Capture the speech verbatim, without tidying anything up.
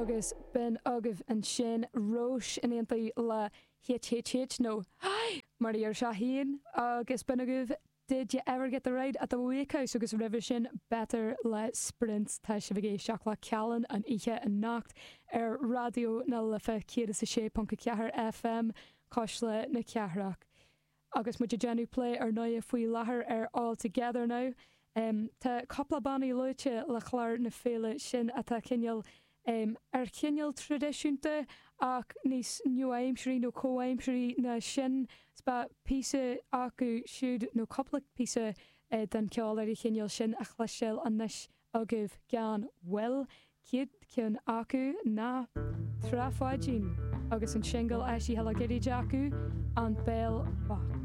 Agus b'in agaibh ansin Róis in éineacht le HHH nó Hi mar a deir sé féin agus b'in agaibh Did you ever get the ride at the Wakehouse agus roimhe sin Better le Sprint tá sibh ag éisteacht le Cealann an oíche anocht ar Raidió na Life céad is a sé ponc a ceathair FM Cuisle na Cathrach. Agus muid ag déanamh plé ar ndóigh faoi láthair ar All Together Now. Um, tá cúpla bannaí luaite le clár na féile sin atá cineál um, ar chineál traidisiúnta ach níos nua-aimseartha nó comhaimseartha ná sin ba píosa acu siúd nó cúpla píosa uh, den ceol ar an chineál sin a chloisteáil anois agaibh gan mhoill céad ceann acu ná Trá Pháidín agus an singil eisithe le gairid acu an Béal Bocht.